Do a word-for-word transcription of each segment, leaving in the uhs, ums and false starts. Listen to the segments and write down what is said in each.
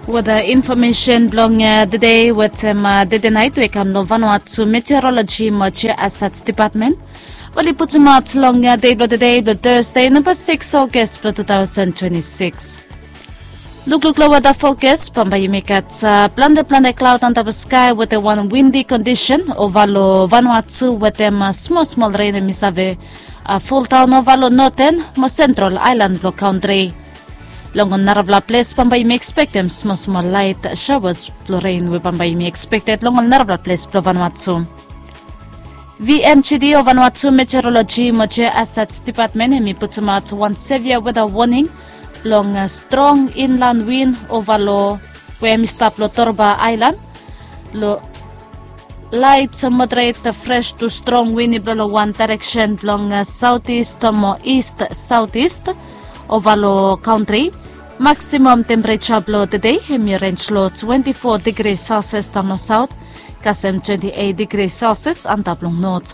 Weda infomesen blong tede wetem tede nait we kam long Vanuatu Meteorologi mo Geohazard Depatmen oli putumaot long dei blong tede blong Tasde namba sikis August blong tu taosen twenti sikis. Lukluk long weda fokas, bambae yumi gat plante plante klaod antap long skae wetem wan windi kondisen ova long Vanuatu wetem smol smol ren hemi save foldaon ova long noten mo sentral aelan blong kantri. Long ol narafala ples bambae yumi ekspektem smol smol laet saoas blong ren we bambae yumi ekspekted long ol narafala ples blong Vanuatu. V M G D o Vanuatu Meteorologi mo Geohazard Depatmen hemi putumaot wan sevia weda woning blong strong inlan win ova long we hemi stap long Torba Aelan long laet moderet fres tu strong win i blo long wan daereksen blong saotis mo ist saotis ova long kantri. Maksimam tempereja blong tede hemi renj long twenti fo digri Celsius daon long saot kasem twenti eit digri Celsius antap long not.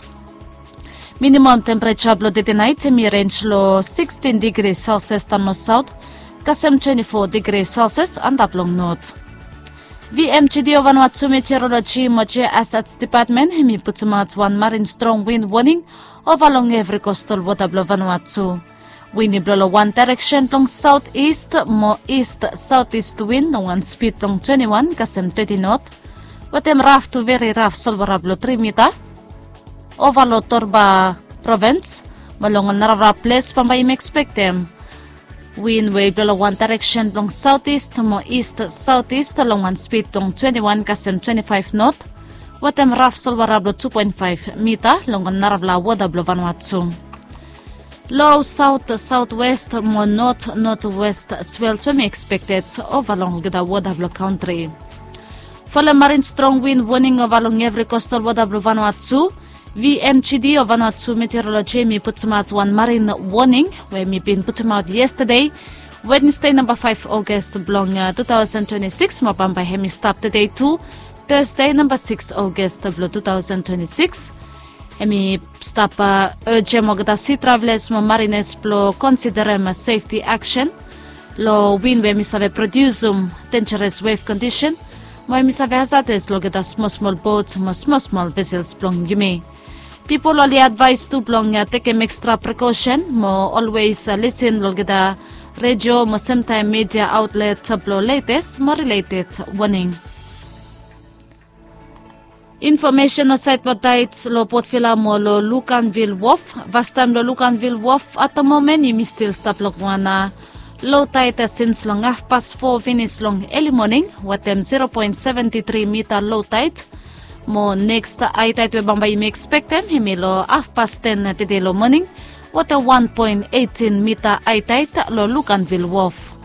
Minimam tempereja blong tede nait hemi renj long sikstin digri Celsius daon long saot kasem twenti fo digri Celsius antap long not. V M G D o Vanuatu Meteorologi mo Geohazard Depatmen hemi putumaot wan marin strong win woning ova long evri kostal wota blong Vanuatu. Win i blo long wan daereksen blong saotis mo ist saotis win long wan spid blong twenti wan kasem teti not wetem raf tu veri raf solwara blong tri mita ova long Torba provens mo long ol narafala ples bambae yumi ekspektem win we i blo long wan daereksen blong saotis mo ist saotis long wan spid blong twenti wan kasem twenti faef not wetem raf solwara blong tu poen faef mita long ol narafala wota blong Vanuatu. Lo saot saotwes mo not notwes swels we mi ekspekted ova long olgeta wota blong kantri. Folem marin strong win woning ova long evri kostal wota blong Vanuatu. V M G D o Vanuatu Meteorologi hemi putumaot wan marin woning we hemi bin putumaot yestade, Wednesde namba faef August blong tu taosen twenti sikis mo bambae hemi stap tede tu, Tasde namba sikis August blong tu taosen twenti sikis. Hemi stap ejem olgeta si travelas mo marinas blo konsiderem sefti aksen lo win we hemi save prodiusum denjaras wef kondisen mo hemi save hazades lo olgeta smol smol bot mo smol smol vesels blong yumi. Pipol oli advaes tu blong tekem ekstra prekosen mo olwes lisen lo olgeta redio mo semtaem midia aotlet blo letes mo rileted woning. Infomesen olsaed blong taed long Port Vila mo long Luganville Wharf. Fastaem long Luganville Wharf at the moment yumi stil stap long wan low tide since long hafpas fo finis long early morning wetem zero point seventy three mita low tide. Mo next high tide we bambae yumi expectem hemi long hafpas ten tede long morning wetem one point eighteen mita high tide long Luganville Wharf.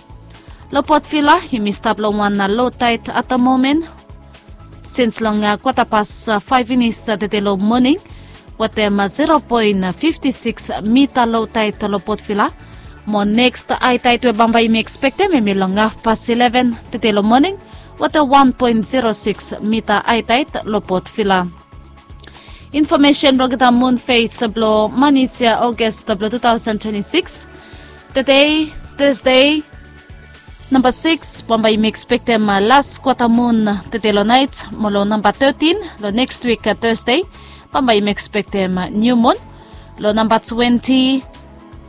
Long Port Vila yumi stap long wan low tide at the moment. Since long kwata pas faef finis tede long morning wetem zero point fifty six mita low tide long Port Vila. Mo next high tide we bambae yumi expectem hemi long hafpas eleven tede long morning wetem one point zero six mita high tide long Port Vila. Infomesen blong olgeta mun fes blong man yia August blong two thousand twenty six. Tede Thursday namba sikis bambae yumi expectem las kwata mun tede long naet mo long namba thirteen long next week Thursday bambae yumi expectem niu mun. Long namba twenty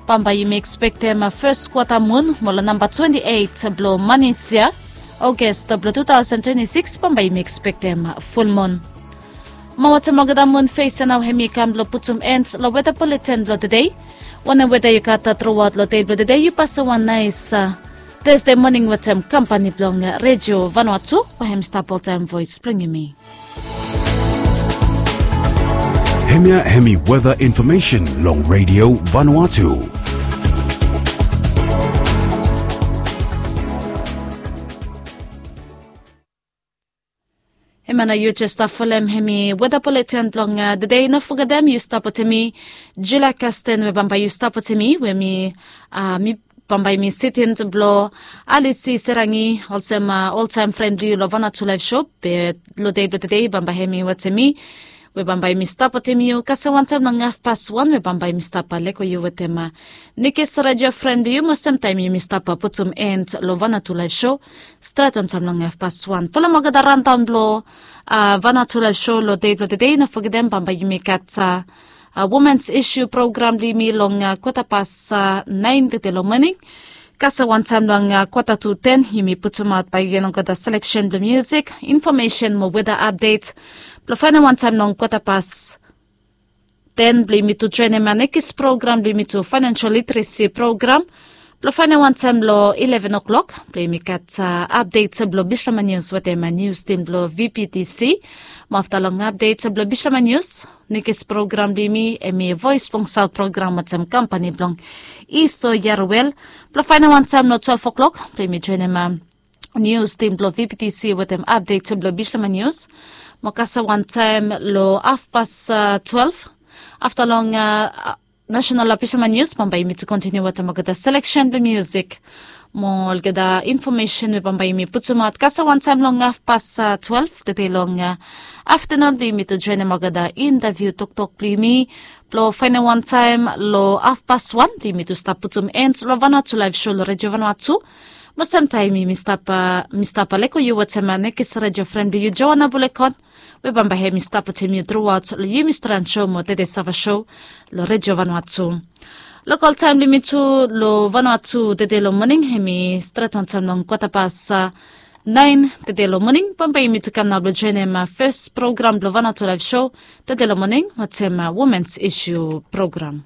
bambae yumi expectem fes kwata mun mo long namba twenty eight blong man yia August blong two thousand twenty six bambae yumi expectem ful mun. Mo wetem olgeta mun fes ya nao hemi kam blong putum end long weta bulletin blong tede. Wanem weta yu gat truaot long dei blong tede yu pasem wan naes Thursday moning wetem kampani blong redio Vanuatu we hem stap oltaem voes blong yumi. Hemia hemi weta infomesen long redio Vanuatu. Hemia nao yu jes stap folem hemi weta bulletin blong tede. No fogetem yu stap wetem mi Julia Kasten we bambae yu stap wetem mi we mi mi bambae mi sitin blong Alisi Serangi olsem oltaem fren blong yu long Vanuatu Laef Sho. Be long dei blong tede bambae hemi wetem mi we bambae yumi stap wetem yu kasem wantaem long hafpas wan we bambae yumi stap leko yu wetem nikis redio fren blong yu mo samtaem yumi stap putum en long vanatu laef sho stret wantaem long hafpas wan folem olgeta randaon blong vanatu laef sho long dei blong tedei no fogetem bambae yumi gat womens isu program blong yumi long kwata pas naen tede long moning. Kasem wantaem long kwata tu ten yumi putumaot bae gen olgeta seleksen blong musik, infomesen mo weda apdet blong faenem wantaem long kwata pas ten blong yumi tu joenem nekis program blong yumi tu faenensel literesi program blong faenem wantaem long ileven o'klok blong yumi gat apdet blong bisama nius wetem nius tim blong vptc. Mo afta long apdet blong bisama nius, nekis program blong yumi em i voes blong saot program wetem kampani blong iso yaruel blong faenem wantaem long twelve o'klok blong yumi joenem nius tim blong vptc wetem apdet blong bisama nius. Mo kasem wantaem long hafpas twelve afta long nasenal bisama nius bambae yumi tu kontiniu wetem olgeta seleksen blong musik mo olgeta infomesen we bambae yumi putumaot kasem wantaem long hafpas twelve tede long aftanun blong yumi tu joenem olgeta intaviu toktok blong yumi blong faenem wantaem long hafpas wan blong yumi tu stap putum en long vanua tu laef sho long redio vanua tu. Mo samtaem yumi stap leko yu wetem nekis redio fren blong yu joana bulekot we bambae hem i stap wetem yu truaot long yumi stran sho mo tede sava sho long redio vanua tu. Lokol taem blong yumi tu long vanua tu tede long moning hem i stret wantaem long kwata pas naen tede long moning bambae yumi tu kam nao blong joenem fes program blong vanua tu laef sho tede long moning wetem womens isu program.